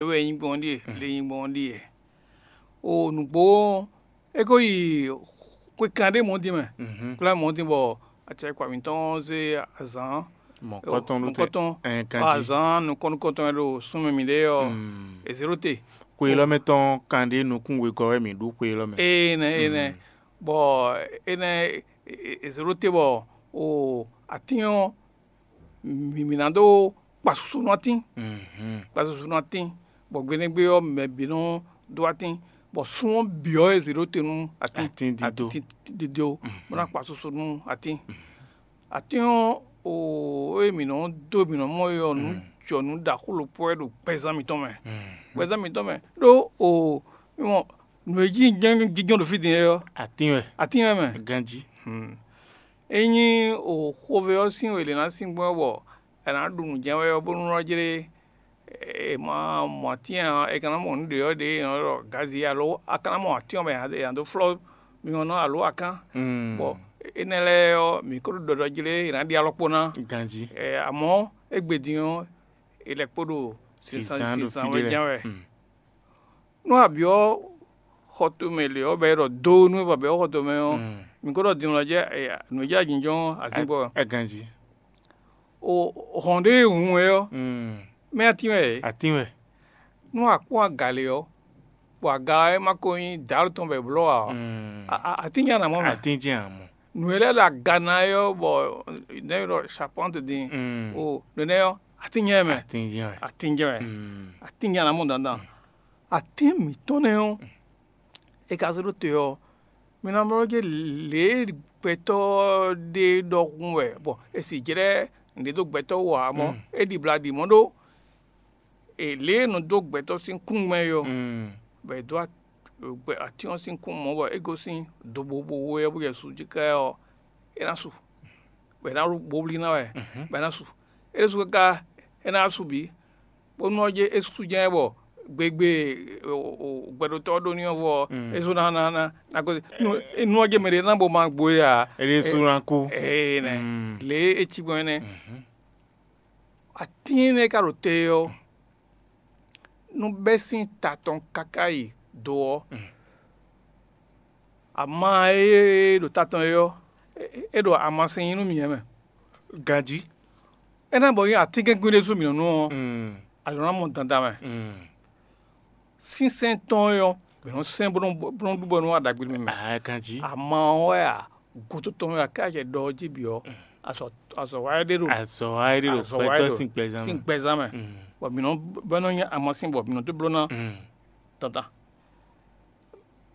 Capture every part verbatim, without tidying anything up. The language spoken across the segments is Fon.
Lě wɛ é nyí gbɔn ɔ́ ɖíe, lě é nyí gbɔn ɔ́ ɖíe. O nǔgbó ɔ́, é ko yi xwe kanɖé mɔ̌ din mɛ, kwlá mɔ̌ din bɔ acɛkpa mǐtɔn ɔ́ zé azǎn mɔ̌kɔtɔn ɖó te. Mɔ̌kɔtɔn, ɛn, kanjí. Azǎn nukɔn nukɔntɔn e ɖo súnmɛ mǐɖée ɔ́, è zě ɖó te. Xwe élɔ́ mɛ tɔn kanɖé nukún wegɔ́ wɛ mǐ ɖu xwe élɔ́ mɛ. Énɛ́, énɛ́. Bɔ énɛ́ è zě ɖó te bɔ o atín ɔ́, mǐ mǐ ná dó kpa susu nú atín. Kpa susu nú atín, bɔ gbeɖégbé ɔ́, mɛ bǐ nɔ dó atín, bɔ sun ɔ́ bǐ ɔ́, è zě ɖó te nú atín. Atín dídó. Atín dídó, bó ná kpa susu nú atín. Atín ɔ́, o ée mǐ nɔ dó mǐ nɔ mɔ é ɔ́, nǔ jɔ nǔ ɖaxó ɖokpó wɛ ɖo gbɛzán mǐtɔn mɛ. Gbɛzán mǐtɔn mɛ ɖó o mɔ nǔ e jí jínjɔ́n ɖo fí din é ɔ́, atín wɛ. Atín wɛ mɛ. Ganjí. Ényí o xovɛ ɔ́ sín we lě ná sín gbɔn bɔ è nǎ ɖu nǔ jɛ́n wɛ ɔ́, bónú ɔ́ jlé è ma mɔ atín ǎ, è ka ná mɔ nǔ ɖě ɔ́ ɖě è nɔ ɖɔ gazi alo a ka ná mɔ atín ɔ́ mɛ è nǎ dó flɔ́ myɔ ná alo akán. Bɔ énɛ́ lɛ́ɛ ɔ́, mǐ ko ɖo ɖɔɖɔ jlé è nǎ ɖi alɔkpo ná. Ganjí. Amɔ̌ égbé din ɔ́, è lɛ́ kpo ɖo Sǐsán ɖo sinsán fí wɛ ɖé jɛ́n lɛ́ɛ. Wɛ. Nú a byɔ́ xɔ tomɛ lě ɔ́, bɔ è ɖɔ do nú é bɔ a byɔ́ xɔ tomɛ ɔ́, mǐ ko ɖɔ din lɔ jɛ nǔ e jɛ ajínjɔ́n ɔ́, azín gbɔ. Ɛ ganjí. O hɔn ɖé e hun é ɔ́, mɛ atín wɛ é. Atín wɛ. Nú a kpɔ́n aga lě ɔ́, bɔ aga ɔ́ é ma ko nyí dǎlu tɔn bɔ è blɔ́ ǎ ɔ́, a- a- atín jɛ́n a nǎ mɔ mɛ. Atín jɛ́n a mɔ. Nǔ e lɛ́ ɖo aga ná é ɔ́, bɔ nɛ̌ e ɖɔ charpente din o nɛnɛ ɔ́, atín jɛ́n mɛ. Atín jɛ́n wɛ. Atín jɛ́n wɛ. Atín jɛ́n a nǎ mɔ dandan. Atín mǐtɔn nɛ́ ɔ́, è ka zé ɖó te ɔ́, mi ná mlɔ́ jɛ lě e gbɛtɔ́ ɖé ɖɔhun wɛ, bɔ è sì jlɛ́ nǔɖé dó gbɛtɔ́ wú ǎ mɔ̌, é ɖibla ɖi mɔ̌ ɖó. È lě e nɔ dó gbɛtɔ́ sín kún mɛ é ɔ́, bɔ è dó atín ɔ́ sín kún mɔ̌ bɔ é gosín dobobo ɔ́ bó jɛ su jí ká ɔ́, é ná su, bɔ è ná ɖó bowlí ná wɛ, bɔ é ná su. É ɖésú káká é ná su bǐ, bónú ɔ́ jɛ é sú jɛ́n bɔ gbegbe gbɛɖotɔ́ ɔ́ ɖó n'i ɔ́ vɔ ɔ́, é sú ná ná ná ná gosín. Nú ɔ́ jɛ mɛ ɖě ná bo ma gbo é ǎ. É ɖésú ná kú. Ee nɛ, lě e é cí gbɔn é nɛ́. Atín énɛ́ e ka ɖo te ɔ́, nú bɛ́ sín ta tɔn káká yi do ɔ́, ama e ɖo ta tɔn é ɔ́, é ɖo amasin nyí nú mǐ mɛ. Ganjí. É ná bɔ nyí atínkɛ́nkwín ɖésú mǐ nɔ nú ɔ́, a nɔ ná mɔ dandan mɛ. Sínsɛ́n tɔn é ɔ́, mǐ nɔ sɛ́n bó nɔ bó nɔ ɖu bɔ nú aɖagbe mɛ mɛ. Aa ganjí. Ama ɔ́ wɛ a, gǔdo tɔn wɛ a ká jɛ ɖɔ ɔ́ jí bǐ ɔ́, azɔ azɔ wa é ɖe ɖo. Azɔ wa é ɖe ɖo azɔ wa é gbɛtɔ́ ɖo sín gbɛzán sín mɛ. Gbɛzán mɛ. Bɔ mǐ nɔ bɔ é nɔ nyí amasin bɔ mǐ nɔ dó bló ná dandan.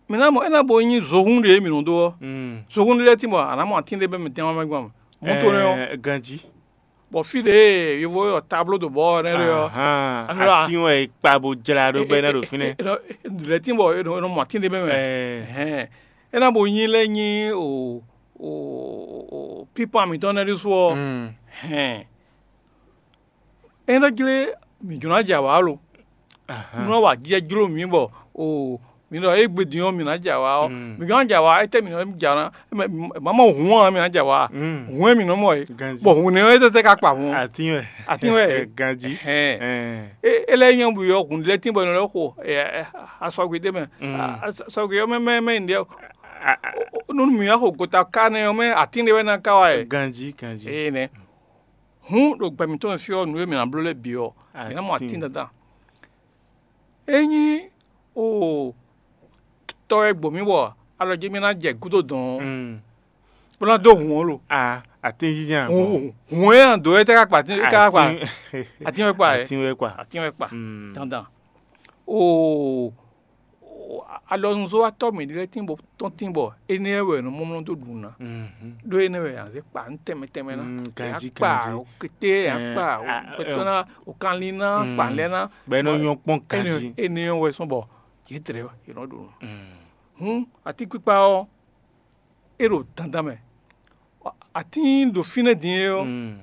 Mǐ ná mɔ é ná bo nyí zohún ɖě mǐ nɔ dó ɔ́. Zohún ɖé lɛ́ɛ tín bɔ a nǎ mɔ atín ɖé bɔ mǐ tɛ́n wá mɛ gbɔn mɔ̌ to nɛ́ ɔ́. Ɛɛ, ganjí. Bɔ fí ɖě e yovo e ɔ tabló ɖo bɔ ɔ́ nɛ́ ɖe ɔ́, Ahan, atín wɛ è kpa bó jlá ɖó bɔ é ná ɖo fínɛ́. Lɛ̌ tín bɔ è nɔ mɔ atín ɖé mɛ mɛ. Ɛɛ. Hɛn, é ná bo nyí lɛ́ nyí o o o pípan mǐtɔn nɛ́ ɖésú ɔ́. Mm. Hɛn, é nɔ jlé mǐ jló ná jɛ awǎ lo. Ahan. Nú wǎ jɛ jló mǐ bɔ o mǐ ɖɔ égbé din ɔ́ mǐ ná jɛ awǎ ɔ́, Mm. mǐ jló ná jɛ awǎ étɛ́ mǐ nɔ jɛ awǎ ná? Mǎ mɔ hǔn ɔ́ mǐ ná jɛ awǎ. Mm. Hǔn e mǐ nɔ mɔ é. Ganjí. Bɔ hǔn nɛ́ ɔ́ é tɛ́tɛ́ ka kpa hǔn ɔ́? Atín wɛ. Atín wɛ. Ganjí. Hɛn. Ɛɛ. É é lɛ́ nyɔ́ bǔ yɔ hǔn lɛ́ɛ tín bɔ è nɔ lɛ́ xo ɛ, ɛ, asɔgbe ɖé mɛ. Mm. A- a- Asɔgbe ɔ́ mɛ mɛ mɛ ɖě A- a- nú mǐ wá xo gota ká nɛ́ ɔ́ mɛ atín ɖé wɛ ná ká wá ɛ. Ganjí, ganjí. Ee nɛ. Hǔn ɖo gbɛ mǐtɔn fí ɔ́, nǔ e mǐ ná bló lɛ́ɛ bǐ ɔ́, mǐ ná mɔ Atín. Atín dandan. Ényí o tɔ e gbo mǐ bɔ alɔ jí mì ná jɛ gúdo dɔn ɔ́, Mm. bó ná dó hǔn ɔ́ lo. A atín jínjɛ́n a gbɔn. Hǔn hǔn e ná dó é tɛ́ ká kpa atín ká kpa Atín- atín wɛ kpa é. Atín wɛ kpa. Atín wɛ kpa Mm. dandan. O alɔnuzɔ́watɔ́ mǐɖée lɛ́ɛ tín bɔ tɔn tín bɔ énɛ́ wɛ nɔ mɔmlɔ dó ɖu ná. Mhm. Ɖó énɛ́ wɛ a zě kpa nú tɛnmɛ tɛnmɛ ná. Mm, ganjí, Akpa ganjí. Okété, Eh, akpa a- okpɛtɔ ná, okanlin ná, Mm. kpa lɛ́ ná. Bɔ é nɔ nyɔ́ kpɔ́n ganjí. Énɛ́ wɛ sɔ́ bɔ yě tlɛ yě nɔ ɖu nǔ. Mm. Hǔn atínkpikpa ɔ́, é ɖo dandan mɛ. Atín ɖo fínɛ́ din é ɔ́, Mm.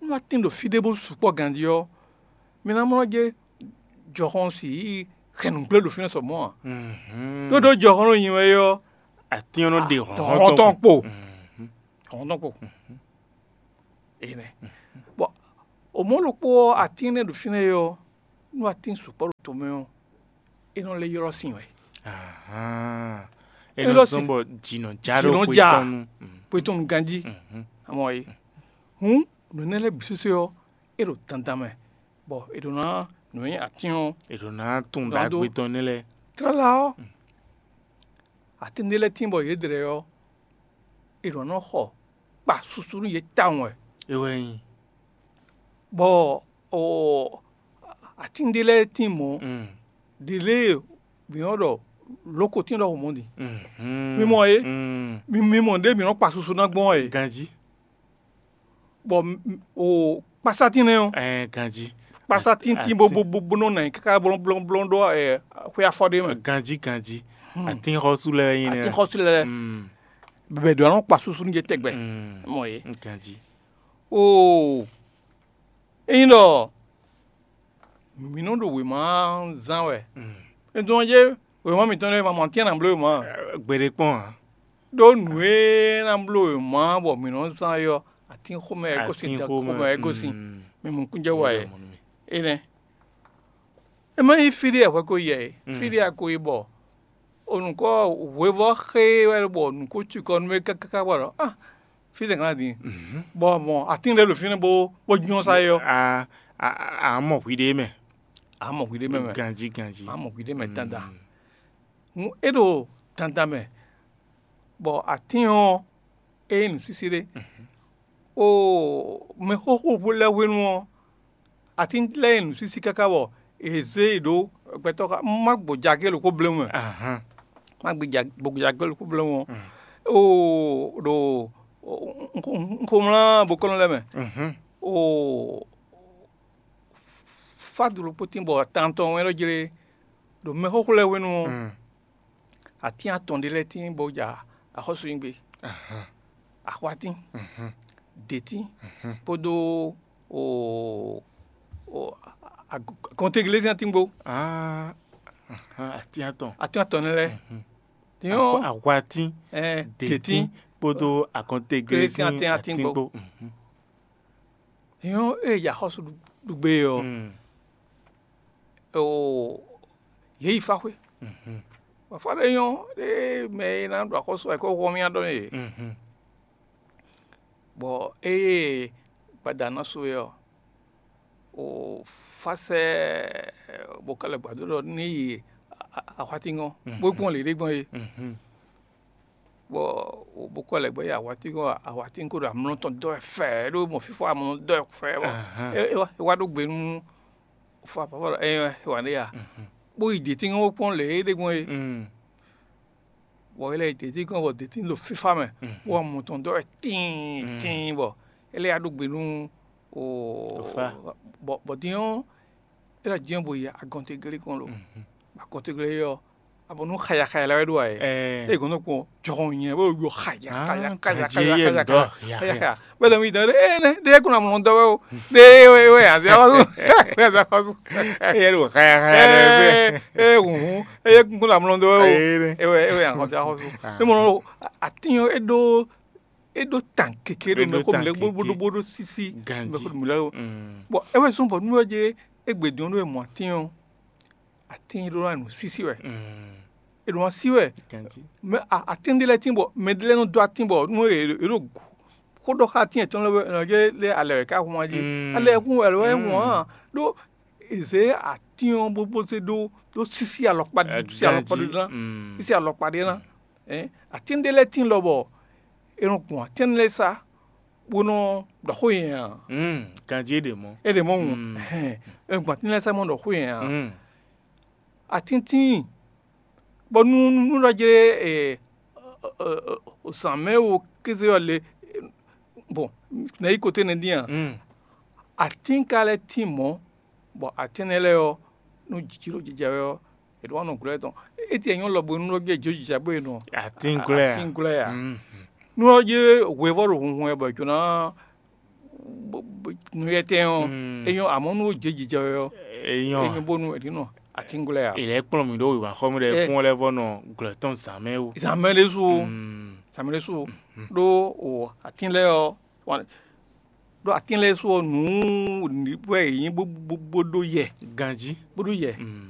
nú atín ɖo fí ɖé bó sukpɔ́ ganjí ɔ́, mi ná mlɔ́ jɛ jɔhɔn si yi hɛn nǔgblé ɖo fínɛ́ sɔ mɔ̌ ǎ. Mhm. Ɖó ɖó jɔhɔn ɖo nyi wɛ é ɔ́, Atín ɔ́ nɔ ɖe hlɔ̌nhlɔ́n hlɔn tɔn tɔn kpo. Mhm. Hlɔn tɔn kpo. Énɛ́. Bɔ o mɔ̌ ɖokpó ɔ́, atín énɛ́ ɖo fínɛ́ é ɔ́, Nú atín sukpɔ́ ɖo tomɛ ɔ́, é nɔ lɛ́ ylɔ́ sin wɛ. Ahán. É nɔ zɔ́n bɔ jǐ nɔ ja ɖó xwe tɔn nu. Xwe tɔn nu ganjí. Amɔ é. Hǔn nǔ énɛ́ lɛ́ɛ bǐ sésé ɔ́, é ɖo dandan mɛ, bɔ è ɖǒ ná nǔ e nyí atín ɔ́. È ɖǒ ná tunwun ɖagbe tɔn énɛ́ lɛ́ɛ. Tlala ɔ́, atín ɖé lɛ́ɛ tíin bɔ yě dlɛ́ ɔ́, è ɖǒ ná nɔ xɔ kpa susu nú yě tawun wɛ. É wɛ nyí. Bɔ o atín ɖé lɛ́ɛ tíin mɔ̌, ɖě lée mǐ nɔ ɖɔ lǒkotín ɖɔhun mɔ̌ din. Mi mɔ é? Mi mi mɔ ɖěe mǐ nɔ kpa susu ná gbɔn ɔ́ é. Ganjí. Bɔ o kpásá tín nɛ́ ɔ́, Ɛɛ, ganjí. Kpásá tíntín bó bó bó bó nɔ nɔ anyi káká blɔ́nblɔ́nblɔ́n ɖó ɛ xwé afɔ ɖé mɛ. Ganjí, ganjí. Hmm. Atínxɔ́sú lɛ́ɛ nyí nɛ́. Atínxɔ́sú lɛ́ɛ. Hmm. Bɛbɛ ɖo anɔ kpa susu nú jɛ tɛgbɛ. Hmm. Mɔ yě. Ganjí. Oo, ényí ɖɔ mǐ nɔ ɖo wěma zán wɛ, Mm. é dɔn jé wěma mǐtɔn lɛ́ɛ ma mɔ atínɛ́ ná bló wěma ǎ. Gbeɖé kpɔ́n ǎ. Ɖó nǔ e ná bló wěma bɔ mǐ nɔ zán é ɔ́, atín xomɛ wɛ é gosín, dan Atínxomɛ, xomɛ wɛ é gosín. Mm. Mi mɔ kúnjɛ wa é. Énɛ́. É má nyí fí ɖé wɛ hwɛ ko yi ɛ, Mm. fí ɖé a ko yi bɔ o nǔkɔ hwevɔ́ xé wɛ bɔ nǔkó cikɔ nú é káká bɔ ɖɔ ah fí tɛn kan din. Mhm. Bɔ mɔ atín ɖé ɖo fínɛ́ bó bó jínjɔ́n sá é ɔ́. A a a mɔ hwi ɖé mɛ. A mɔ hwi ɖé mɛ mɛ. Ganjí, ganjí. A mɔ hwi ɖé mɛ dandan. Mm. Hǔn é ɖo dandan mɛ, bɔ atín ɔ́ é nyí nǔsísí ɖé. Mhm. O mɛxóxó lɛ́ɛ hwenu ɔ́, atín lɛ́ɛ nyí nǔsísí káká bɔ è zé yě ɖó gbɛtɔ́ xá má gbɔjɛ́ agě ɖokpó bléwún mɛ. Ahán. Má gbɔjɛ́ agě ɖokpó bléwún ɔ́. Mm. Oo ɖo nxomlá bokɔ́nɔ lɛ́ɛ mɛ. Mhm. Oo fádulopótín bɔ tantɔn wɛn ɖɔ jlé ɖo mɛxóxó lɛ́ɛ hwenu ɔ́. Mm. Atín atɔn ɖé lɛ́ɛ tíin bó ja axɔ́súnyígbe, Ahán. Axwatín, Mhm. Dětín, Mhm. kpódó o o agɔnteglézín atín kpó. Ah, ahán, atín atɔn. Atín atɔn nɛ́ lɛ́ɛ. Mhm. Dín ɔ́, Axwa- Axwatín, ɛ, Dětín, Dětín, kpódó agɔnteglézín Glézín atín atín atín kpó. kpó. Mhm. Dín ɔ́, ée ya xɔ́sú ɖu- ɖu gbé ɔ́, Mm. o yě yi fá xwé. Mhm. Bɔ fá ɖé nyɔ́ ɖé mɛ e ná ɖu axɔ́sú wɛ kó hɔn mì adɔ nú yě. Mhm. Bɔ ée gbada ná su é ɔ́, o fá sɛ́ bokɔ́lɛ gbadó ɖɔ ní yi a- a- axwátíngɔ́n, Mhm. bó gbɔn lě ɖé gbɔn é. Mhm. Bɔ bokɔ́lɛ gbɔn yi axwátíngɔ́n, axwátíngɔ́n ɖo amlɔ tɔn dɔ́ wɛ fɛ́ɛ ɖó mɔ fífá amlɔ dɔ́ wɛ fɛ́ɛ bɔ Ahán. é é wá é wá ɖó gbe nú fá papa ɖɔ é wá ɖé ya. Mhm. Bó yi dě tíngbɔn bó kpɔ́n lě é ɖe gbɔn é. Mm. Bɔ é lɛ́ yi dě tíngbɔn bɔ dě tín ɖo fífá mɛ, Mm. bó wá mɔ tɔn dɔ́ wɛ tíin Mm. tíin bɔ é lɛ́ yá ɖó gbe nú o Fá. Bɔ bɔ dín ɔ́, é lɛ́ jɛ́n bo yi agɔnteglé kɔn lo. Mhm. Agɔnteglé ɔ́, abɔ nú xaya xaya lɛ́ɛ wɛ ɖó ǎ é. Ɛɛ. É gɔn nɔ kpɔn jɔhɔn nyɛ bó yɔ xaya Ah, xaya xaya gajé xaya yé xaya ŋdɔ, xaya ya, xaya ya. Xaya. Bɛlɛ mi dɛ ɛ nɛ ɖe ko na mlɔ dɔ wɛ o. Ɖe wɛ wɛ azia xɔsu. Wɛ azia xɔsu. Eye ɖo xaya xaya ɖe wɛ. Ɛ ɛ hun eye kun na mlɔ dɔ wɛ o. Eye ɖe. Ewɛ ewɛ azia xɔsu. Ah. Ne mɔ atin e ɖo e ɖo tan keke ɖo Eɖo mɛ ko tan mlɛ keke. Boɖo boɖo sisi Ganji. Mɛ ko mlɛ o. Mm. Bon, ewɛ sɔn bɔ nu wɛ je egbe dɔn ɖo mɔ atin o. Atin ɖo na nu sisi wɛ. Mm. E ɖo na si wɛ. Ganji. Mɛ a- atin ɖe lɛ tin bɔ mɛ ɖe lɛ nɔ dɔ atin bɔ nu e e ɖo xó ɖɔ xa atin etɔn lɛ wɛ nɔ je lɛ alɛ wɛ ka hun aji. Mm. Alɛ hun wɛ lɛ wɛ Mm. hun hàn ɖo eze atin ɔ bo bo se ɖo ɖo sisi alɔkpa Eh, si alɔkpa ɖe ganji. Na Mm. Sisi alɔkpa ɖe na. Eh, atin ɖe lɛ tin lɔ bɔ e nɔ gbɔn atin lɛ sa bo nɔ ɖɔ xó yɛn a? Mm, ganji ɖe mɔ. E ɖe mɔ ŋu. Mm. Ɛhɛn, e gbɔn atin lɛ sa mɔ ɖɔ xó yɛn a? Mm. Atintin bɔ nu nu ɖɔ jɛ e zan mɛ wo kéze ɔ le. Bon, nɛ yi kote nɛ din a? Mm. Atin ka lɛ tin mɔ bɔ atin nɛ lɛ ɔ nu jijilo jija wɛ ɔ e ɖo wa nɔ glɔ tɔn. Eti e nyɔ lɔ bo nu ɖɔ jɛ jo jija bo e nɔ Atin glɔ ya. Atin glɔ ya. Mm. Nu ɔ je hwevɔ ɖo hunhun ɛ bɔ e jona nuyɛtɛn ɔ. Mm. E nyɔ amɔ nu je jija wɛ ɔ. E nyɔ. E nyɔ bonu e ɖi nɔ atin glɔ ya. Ilẹ̀ kplɔn mi ɖo wíwá xɔmú ɖe Eh. Kún lɛ vɔ nɔ glɔ tɔn zan mɛ wo. Zan mɛ ɖe su. Mm. Zan mɛ ɖe su. Mm. Ɖo o atin lɛ ɔ. ɖó atín lɛ́ɛ su ɔ́ nǔ wɛ yě nyí bó ɖó yɛ. Ganjí. Bó ɖó yɛ.